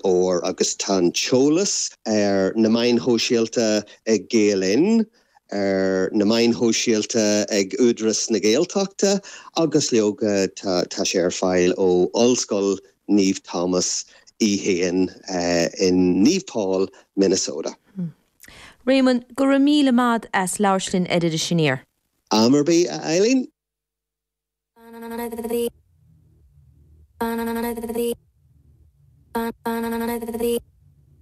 Fhómhair agus tá an t-eolas ar na meáin shóisialta ag Gael Linn, ar na meáin shóisialta ag Údarás na Gaeltachta agus leoga tá tá sé ar fáil ó Ollscoil Naomh Tomás í féin in Naomh Paul, Minnesota. Réamonn, go raibh míle maith a't as labhairt linn ar Iris Aniar. Am ar bith, a Eileen.